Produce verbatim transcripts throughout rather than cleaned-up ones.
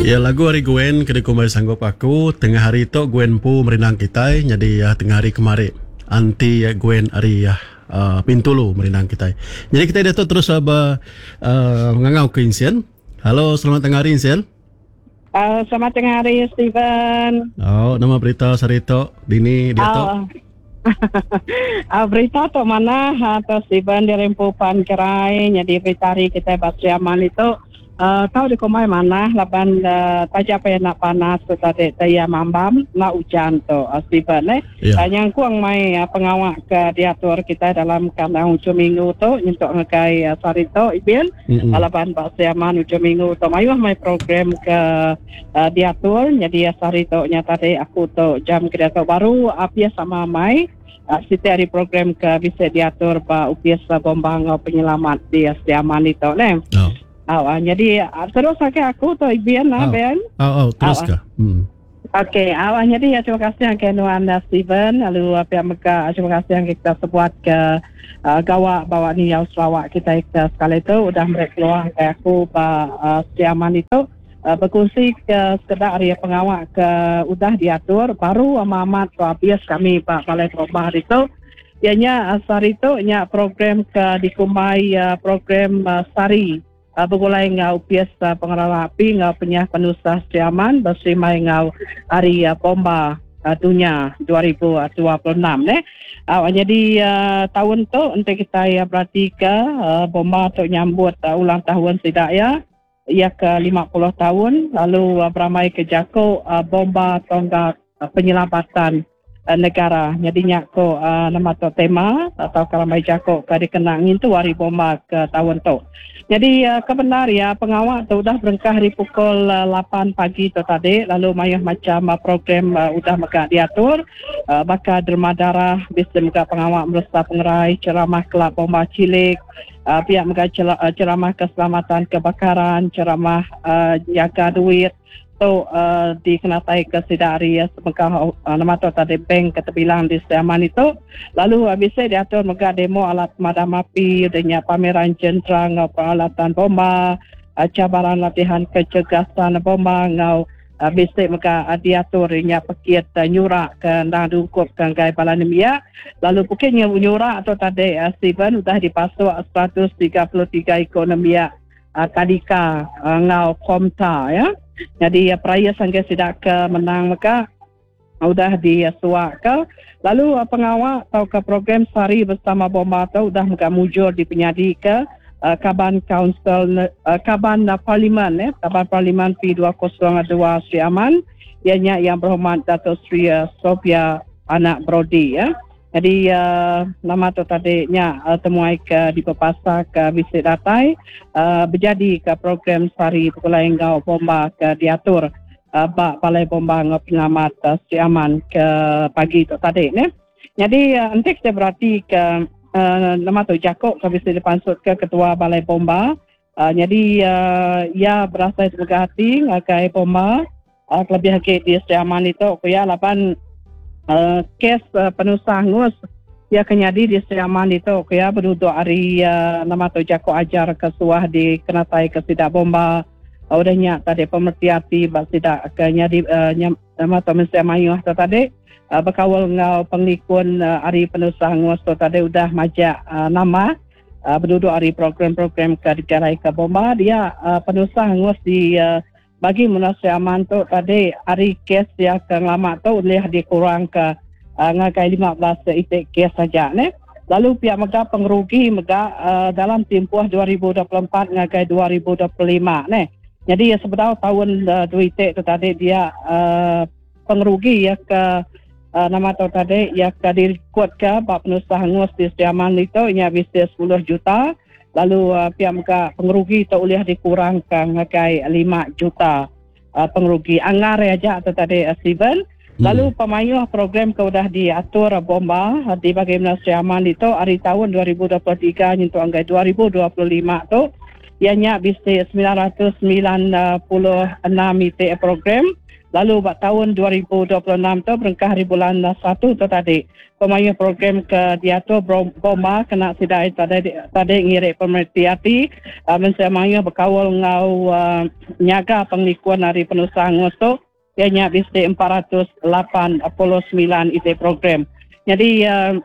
Ya, lagu ari Gwen ke dikumbai Sanggup Aku. Tengah hari tu Gwen empu merindang kitai, nyadi tengah hari kemari anti Gwen ari uh, Bintulu merindang kitai. Jadi kitai diatu terus be uh, ngangau ke Insian. Halo, selamat tengah hari, Insian. Uh, selamat tengah hari, Steven. Oh, nama berita sehari tu dini diatu? Uh, uh, berita tu mana atau Steven dirempu pan kerai, jadi berita hari kita Basri Aman itu uh, tahu di komai mana laban uh, taja apa nak panas tu tadi taya mambam nak hujan tu uh, Steven eh Ya. yeah. Nyangkuang mai uh, pengawak ke diatur kita dalam kandang hujung minggu tu nyentuk ngagai uh, sehari tu ibin. Mm-mm. Laban Basri Aman hujung minggu tu mayuh mai program ke uh, diatur, jadi uh, sehari tu nya tadi aku tu jam ke diatur baru apia sama mai uh, siti hari program ke bisa diatur ba U P S Bomba ngau penyelamat di Sri Aman itu ne. Oh. Oh, uh, jadi uh, terus sakit aku tu Ibian lah Oh. Ben. Oh, oh terus Oh. ke? Hmm. Okey, awak jadi ya, terima kasih yang ke Nuan uh, Steven, lalu uh, pihak Mega, terima kasih yang kita sebuat ke uh, gawak bawa ni yang Sarawak kita ke sekali itu udah mereka keluar ke aku ba uh, Sri Aman itu uh, berkongsi ke sekedar hari pengawak ke udah diatur baru amat tu habis kami ba Balai Bomba hari itu. Ianya uh, sehari itu nya program ke dikumbai uh, program uh, Sari uh, bergulai ngau U P S uh, pengelola api ngau penyah penusah Sri Aman berserimai ngau Hari uh, Bomba uh, Dunia dua ribu dua puluh enam ne. Uh, jadi uh, tahun tu untuk kita ya berarti ke uh, bomba tu nyambut uh, ulang tahun tidak ya ia ke lima puluh tahun, lalu uh, beramai ke jako uh, bomba tonggak uh, penyelamatan uh, negara. Jadi nyako uh, nama tu tema atau karamai jako ke dikenang itu Hari Bomba ke tahun tu. Jadi uh, kebenar ya pengawal tu udah berengkah di pukul uh, lapan pagi tu tadi, lalu mayuh macam uh, program uh, udah mega diatur uh, bakal derma darah bisa mega pengawal meresa pengerai, ceramah kelab bomba cilik, uh, pihak mega uh, ceramah keselamatan kebakaran, ceramah uh, jaga duit tu uh, dikenatai ke Sidari ya, sebengkah uh, nama tu tadi bank keterbilang di Sri Aman itu, lalu uh, bisa diatur mega demo alat pemadam api dengan pameran jentera ngau peralatan bomba, uh, cabaran latihan kecergasan bomba ngau uh, bisa mega uh, diatur nya pekit uh, nyurak ke ndang dungkup ke ngai bala nemia, lalu pukit nyurak tu tadi uh, Steven udah dipasuk seratus tiga puluh tiga ekonomi uh, tadika uh, ngau komta ya. Jadi ya, peraya sangka sidak ke menang maka udah disuak ke, lalu uh, pengawal atau ke program Sari bersama Bomba tu udah mega mujur di penyadi ke uh, Kaban Council uh, Kaban uh, Parlimen eh Kaban Parlimen P dua kosong dua Sri Aman, ianya Yang Berhormat Dato Sri uh, Sophia Anak Brodie ya. Jadi uh, nama tu tadi nya uh, temuai ke di Pepasa ke visit datai uh, berjadi ke program Sari Pulai Ngau Bomba ke diatur uh, bak Balai Bomba Ngau Penyelamat uh, Sri Aman ke pagi tu tadi ne. Jadi uh, nanti kita berarti ke uh, nama tu Jakub ke visit dipansut ke Ketua Balai Bomba. Uh, jadi uh, ia berasa semoga hati ngagai bomba uh, kelebih lagi di Sri Aman itu ya lapan uh, kes uh, penusah ngus ya kenyadi di Sri Aman itu ya berduduk hari uh, nama tu jako ajar ke suah di kenatai ke sidak bomba uh, udah nyak tadi pemerti hati bak sidak ke nyadi uh, nyam, nama tu mesti mayuh tu tadi uh, berkawal ngau penglikun uh, hari penusah ngus tu tadi udah majak uh, nama uh, berduduk hari program-program ke digarai ke bomba dia uh, penusah ngus di uh, bagi Munasri Aman tu tadi hari kes dia ke lama tu boleh dikurang ke uh, ngagai lima belas itik kes saja ne. Lalu pihak mega pengerugi mega uh, dalam tempoh dua ribu dua puluh empat ngagai dua ribu dua puluh lima ne. Jadi ya sebenar tahun uh, dua itik tu tadi dia uh, pengerugi ya ke uh, nama tu tadi ya ke direkod ke bab penusah hangus di Sri Aman itu nya bisa sepuluh juta, lalu uh, pihak mega pengerugi tu boleh dikurangkan ngagai lima juta uh, pengerugi anggar aja tu tadi uh, Steven. Hmm. Lalu pemayuh program ke udah diatur uh, bomba uh, di bagaimana Sri Aman itu hari tahun dua ribu dua puluh tiga nyentuh anggai dua ribu dua puluh lima tu ianya bisa sembilan ratus sembilan puluh enam itik program. Lalu ba tahun dua ribu dua puluh enam tu berengkah hari bulan satu tu tadi pemayu program ke diatur bomba kena sidai tadi tadi ngirik pemerhati hati uh, mensia mayu berkawal ngau uh, nyaga penglikun hari penusah tu ianya bisi empat ratus lapan puluh sembilan iti program. Jadi uh,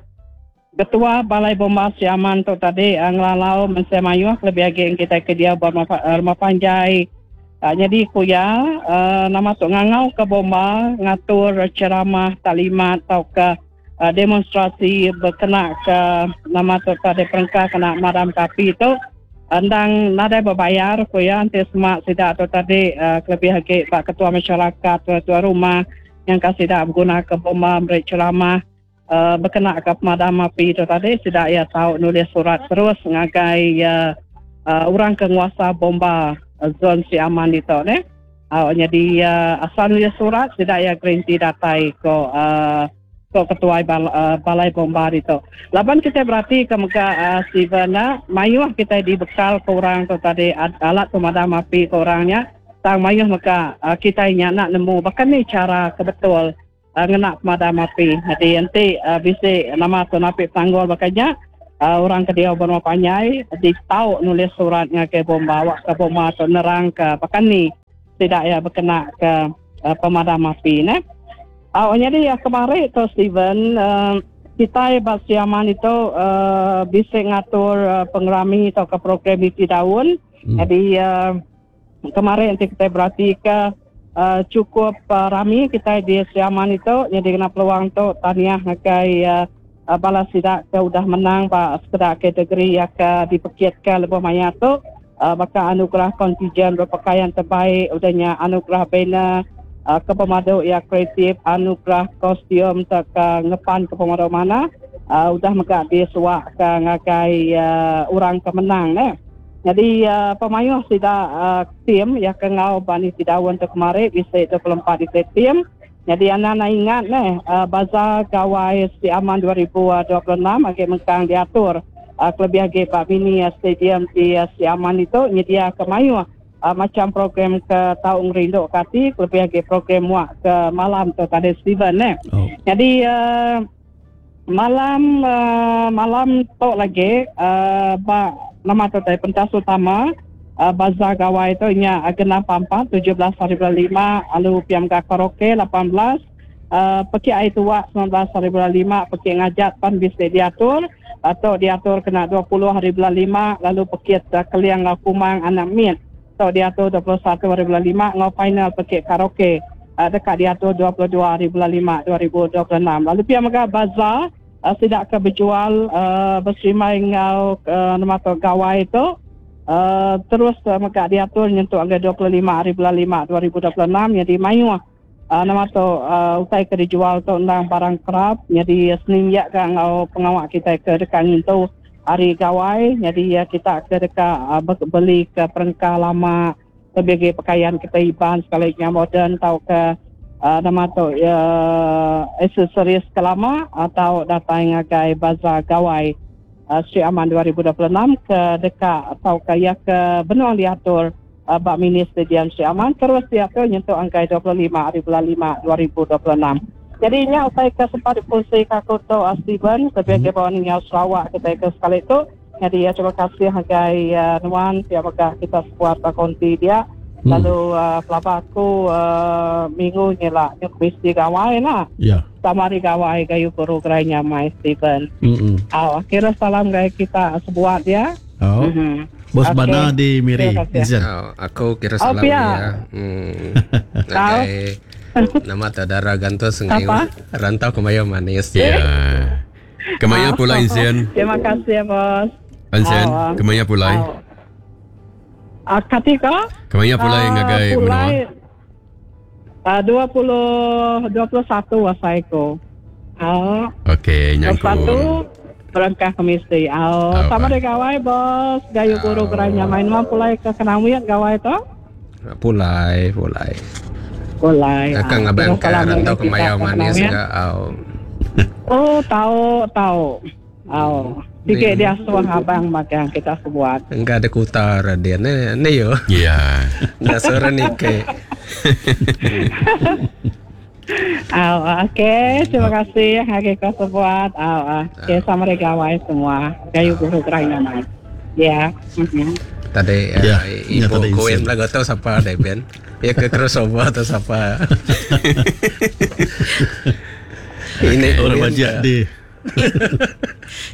Ketua Balai Bomba Sri Aman tu tadi uh, ngelalau mensia mayu lebih lagi kita ke dia rumah, rumah panjai. Uh, jadi kuya uh, nama tu ngangau ke bomba ngatur ceramah taklimat atau ke uh, demonstrasi berkena ke nama tu tadi perengkah kena madam kapi tu endang nadai berbayar kuya nanti semak sidak tu tadi uh, kelebih lagi pak ketua masyarakat ketua rumah yang kasih dak berguna ke bomba beri ceramah uh, berkena ke pemadam api tu tadi sidak ya tahu nulis surat terus ngagai uh, uh, orang penguasa bomba zon Sri Aman itu ne. Uh, jadi uh, asal nulis surat tidak ya garanti datai ke uh, ke ketua bal, uh, balai bomba itu. Laban kita berarti ke mega uh, Steven na mayuh kita dibekal ke orang tu tadi alat pemadam api ke orangnya. Tang mayuh mega uh, kita nya nak nemu bahkan ni cara kebetul uh, ngena pemadam api. Jadi nanti uh, bisi nama tu napi tanggul bakanya Uh, orang ke dia berumah panjai di tahu nulis suratnya ke bomba awak ke bomba atau nerang ke bahkan ni tidak ya berkena ke uh, pemadam api ne. Uh, jadi ya kemarin tu Steven uh, kita di Sri Aman itu uh, bisa ngatur uh, pengerami atau ke program isi daun. Hmm. Jadi uh, kemarin nanti kita berarti ke uh, cukup uh, rami kita di Sri Aman itu jadi kena peluang tu tahniah ngakai uh, balas sidak ke udah menang pak sekedar kategori yang ke dipekit ke lebih maya tu uh, maka anugerah kontingen berpakaian terbaik udahnya anugerah banner uh, ke pemaduk yang kreatif anugerah kostum tak ke ngepan ke pemaduk mana uh, udah mega disuak ke ngagai uh, orang kemenang ne. Jadi uh, pemayuh sidak uh, tim yang ke ngau bani sidawan tu kemarin bisa dua puluh empat di tim. Jadi anak-anak ingat neh uh, Bazar Gawai Sri Aman dua ribu dua puluh enam agak mengkang diatur uh, kelebih lagi Pak Mini uh, Stadium di uh, Sri Aman itu nyedia ke mayu uh, macam program ke Taung Rindu Kati kelebih lagi program muak ke malam tu tadi Steven neh. Oh. Jadi uh, malam uh, malam tu lagi uh, ba nama tu tadi pentas utama Uh, Bazar Gawai itu nya genap empat tujuh belas hari bulan lima lalu P M K karaoke lapan belas uh, peki air tua sembilan belas hari bulan lima peki ngajat pan bisa diatur atau diatur kena dua puluh hari bulan lima lalu peki uh, keliang ngau kumang anak mit atau diatur dua puluh satu hari bulan lima ngau final peki karaoke uh, dekat diatur dua puluh dua hari bulan lima dua ribu dua puluh enam lalu P M K Bazar uh, tidak ke berjual uh, berserimai ngau uh, nama tu Gawai itu Uh, terus uh, maka diatur nyentuh angka dua puluh lima hari bulan lima dua ribu dua puluh enam jadi mayu uh, nama tu uh, utai ke dijual tu undang barang kerap jadi seninjak ke ngau pengawak kita ke dekat nyentuh hari gawai jadi uh, kita ke dekat uh, beli ke perengkah lama sebagai pakaian kita iban sekali yang moden atau ke uh, nama tu uh, aksesoris ke lama atau datang ngagai bazar gawai Uh, Sri Aman dua ribu dua puluh enam ke dekat atau ke ya ke benua diatur uh, Bak Mini Stadium Sri Aman terus diatur nyentuh angka dua puluh lima hari bulan lima dua ribu dua puluh enam. Jadi nya utai ke sempat dipungsi kaku tu uh, Steven sebagai hmm. bawang Sarawak kita ke sekali tu. Jadi ya terima kasih hagai uh, nuan tiap megah kita sebuat konti dia. Hmm. Lalu uh, pelaba aku uh, minggu ni lah nyuk mesti gawai lah. Ya. Sama hari gawai gayu guru gerai nyamai Steven. Mm-mm. Oh, kira salam gaya kita sebuat ya. Oh. Mm-hmm. Bos okay. Bana di Miri. Oh, aku kira salam oh, ya. Hmm. Nagai nama tadara gantos ngai rantau kemayo manis. Ya. Kemaya pula Insian. Terima kasih ya bos. Insian, oh. Kemaya pula. Oh. Uh, Katika? Kemaya pulai uh, ngagai menua? Uh, dua puluh, dua puluh satu wasaiku. Uh, Okey, nyangku. dua puluh satu berangkat ke mesti. Oh, oh, sama deh gawai bos. Gayu guru oh. Geranya main mah pulai ke Kenawian gawai tu? Pulai, pulai. Pulai. Akang abang ke rantau kemaya manis enggak? Oh. Oh, tahu, tahu. Oh. Sikit dia suruh abang makan kita sebuat. Enggak ada kutar dia ni, ni yo. Ya. Nak suruh ni ke. Ah, okey, terima kasih ngagai kau sebuat. Ah, okey, sama regawai semua. Gayu guru gerai nama. Ya. Mhm. Tadi Ya, uh, ya, ibu tadi Gwen insen. lagu tu siapa deh Ben? Ya ke crossover atau siapa? Ini Orang Gwen wajib ke- di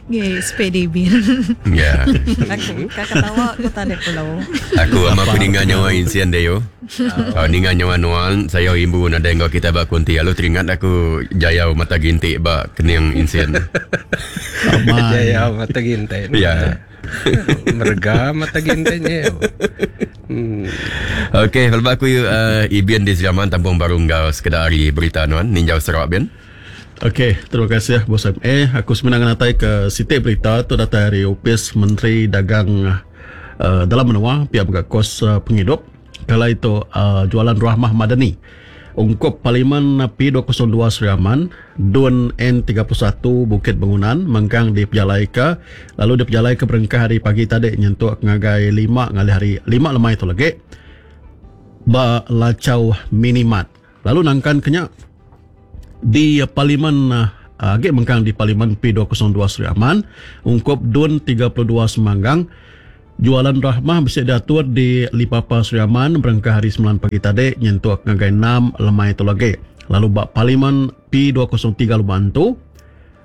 Nggih, sepedi bin. Ya. Aku kakak tawa aku tak ada pulau. Aku ama aku ninga nyawa insian deh yo. Oh, ninga nyawa nuan, saya imbu nada enggau kita ba kunti. Lalu teringat aku jayau mata gintik ba kening insian. aman. Jaya mata gintai. Ya. Merga mata gintainya. Hmm. Okey, kalau aku uh, Ibian di Seraman tampung baru enggau sekedar hari berita nuan ninjau Sarawak Ben. Okey, terima kasih Bos M A. Aku sebenarnya natai ke siti berita tu datang dari Opis Menteri Dagang uh, dalam menua pihak berkat kos uh, penghidup. Kala itu uh, jualan Rahmah Madani. Ungkup Parlimen P dua kosong dua Sri Aman, Dun N tiga puluh satu Bukit Bangunan mengkang di Pejalaika, lalu di Pejalaika berengkah hari pagi tadi nyentuk ngagai lima ngalih hari lima lemai tu lagi. Ba Lacau Minimat. Lalu nangkan kenyak di Parlimen uh, agak mengkang di Parlimen P dua kosong dua Sri Aman, ungkup Dun tiga puluh dua Semanggang, jualan Rahmah bisa diatur di Lipapa Sri Aman berengkah hari sembilan pagi tadi nyentuk ngagai enam lemai tu lagi. Lalu bak Parlimen P dua kosong tiga Lubantu,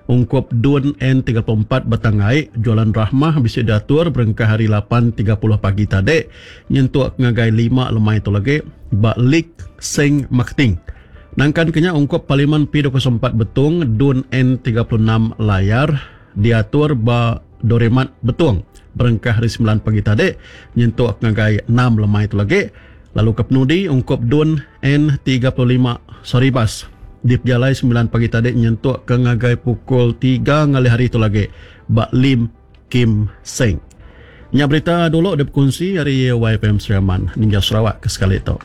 ungkup Dun N tiga puluh empat Batangai, jualan Rahmah bisa diatur berengkah hari lapan tiga puluh pagi tadi nyentuk ngagai lima lemai tu lagi bak Lik Seng Marketing. Nangkan kenya ungkup Parlimen P dua kosong empat Betung, Dun N tiga puluh enam Layar diatur ba Doremat Betung berengkah hari sembilan pagi tadi nyentuk ngagai enam lemai tu lagi. Lalu ke penudi ungkup Dun N tiga puluh lima Saribas di Pejalai sembilan pagi tadi nyentuk ke ngagai pukul tiga ngalih hari tu lagi ba Lim Kim Seng. Nya berita dulu dia berkongsi hari Y F M Sri Aman Ninja Sarawak ke sekali tu.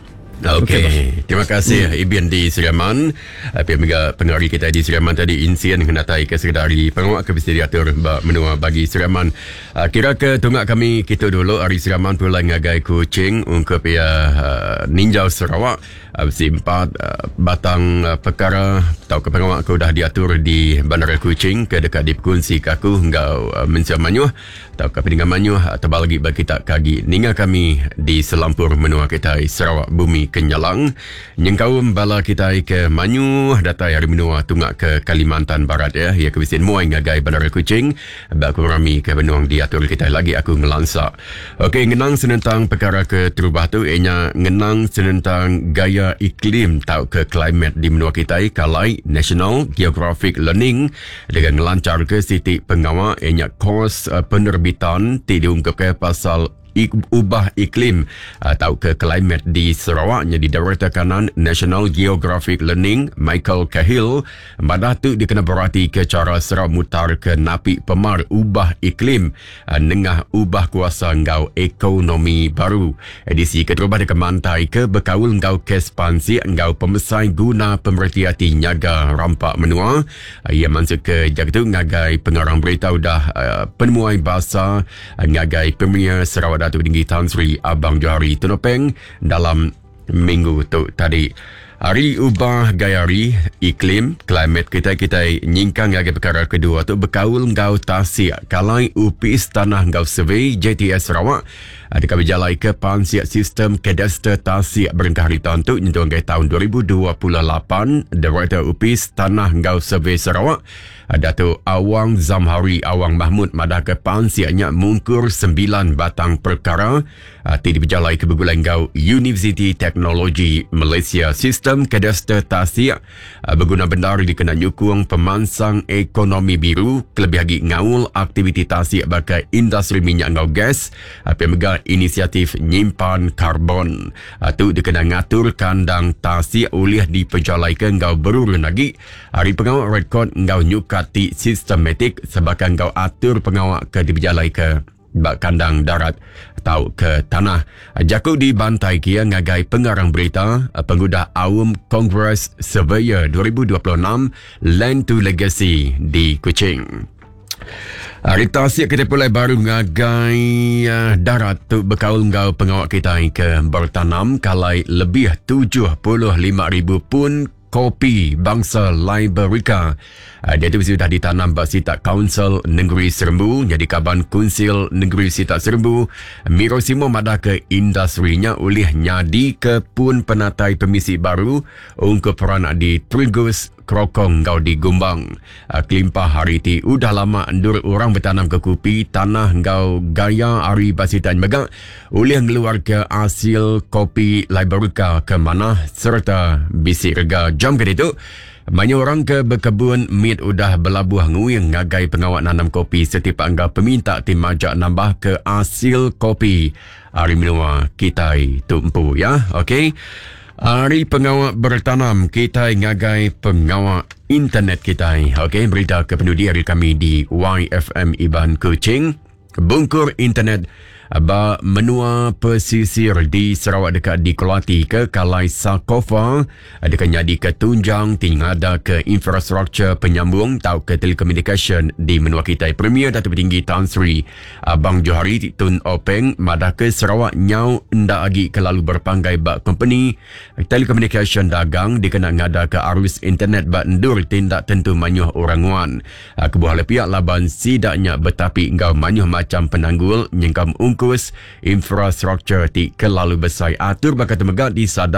Okey, Okey, bos. terima kasih hmm. Ibian di Sri Aman. Pihak mega pengari kita di Sri Aman tadi insien kenatai ke sekedar pengawak ke mesti diatur ba menua bagi Sri Aman. Uh, kira ke tunggak kami kita dulu hari Sri Aman pulang ngagai Kuching ungkup ia uh, Ninjau Sarawak. Uh, besi empat uh, batang uh, perkara atau ke pengawak ke dah diatur di Bandara Kuching ke dekat di Pekunsi kaku enggau uh, Mensia Manyuh atau ke Peninggal Manyuh atau bagi bagi kita kagi ninga kami di selampur menua kita Sarawak Bumi Kenyalang nyengkaum bala kita ke Manyuh datai hari menua tunggak ke Kalimantan Barat ya ya ke bisin muai ngagai Bandara Kuching bak kurami ke benuang diatur kita lagi aku ngelansak. Okey, ngenang senentang perkara ke terubah tu ianya ngenang senentang gaya iklim tau ke climate di menua kita kalai National Geographic Learning dengan ngelancar ke siti pengawal ianya kos uh, penerbitan ti diungkap ke pasal ik-, ubah iklim atau ke climate di Sarawak. Jadi Director Kanan National Geographic Learning Michael Cahill madah tu dikena berarti ke cara Sarawak mutar ke napi pemar ubah iklim nengah ubah kuasa ngau ekonomi baru. Edisi keterubah deka mantai ke bekaul ngau kes pansi ngau pemesai guna pemerhati nyaga rampak menua. Ia masuk ke jaga tu ngagai pengarang berita udah uh, penemuai bahasa ngagai Premier Sarawak Datuk Tinggi Tan Sri Abang Johari Tun Openg dalam minggu tu tadi. Hari ubah gaya hari iklim climate kita kita nyingkang ngagai perkara kedua tu bekaul ngau tasik kalai upis tanah ngau survey J T S Sarawak dekat berjalai ke pansiak sistem kadaster tasik berengkah hari tahun tu nyentuh ngagai tahun dua ribu dua puluh lapan. Director Upis Tanah Ngau Survey Sarawak Datuk Awang Zamhari Awang Mahmud madah ke pansiaknya mungkur sembilan batang perkara ti diberjalai ke bergulai ngau Universiti Teknologi Malaysia. Sistem kadaster tasik berguna benar dikena nyukung pemansang ekonomi biru kelebih lagi ngaul aktiviti tasik bagai industri minyak ngau gas pemega inisiatif nyimpan karbon. Tu dikena ngatur kandang tasik oleh diperjalaikan ngau berurun lagi hari pengawal rekod ngau nyukati sistematik sebagai ngau atur pengawal ke diperjalai ke bak kandang darat atau ke tanah. Jaku dibantai kia ngagai pengarang berita pengudah Aum Kongres Surveyor dua ribu dua puluh enam Land to Legacy di Kuching. Hari tasik kita pulai baru ngagai uh, darat tu berkaul ngau pengawak kita ke bertanam kalai lebih tujuh puluh lima ribu pun kopi bangsa Liberica. Uh, dia tu sudah ditanam ba Sitak Council Negeri Serembu, jadi kaban Kunsil Negeri Sitak Serembu. Miro Simo madah ke industrinya oleh nyadi ke pun penatai pemisi baru ungkup peranak di Trigus, Krokong ngau di Gumbang. Uh, kelimpah hari ti udah lama endur orang bertanam ke kopi tanah ngau gaya ari basitan megak oleh ngeluar ke hasil kopi Liberica ke mana serta bisi rega jam ke itu. Banyak orang ke berkebun mit udah belabuh nguing ngagai pengawak nanam kopi setiap angga peminta tim majak nambah ke hasil kopi ari menua kitai tumpu ya. Okey. Hari pengawak bertanam kita ngagai pengawak internet kita. Okey, berita ke pendudi hari kami di Y F M Iban Kuching. Bungkur internet ba menua pesisir di Sarawak dekat di Kelati ke Kalai Sakofa dekat nyadi ke tunjang tinggal ke infrastruktur penyambung tau ke telekomunikasi di menua kita. Premier Datuk Tinggi Tan Sri Abang Johari Tun Openg madah ke Sarawak nyau ndak agi kelalu berpanggai ba company telekomunikasi dagang dikena ngada ke arus internet ba endur tindak tentu manyuh orang nguan. Kebuah pihak laban sidaknya betapi ngau manyuh macam penanggul nyengkam ungkus infrastruktur ti kelalu besar atur bakal temegak di sadar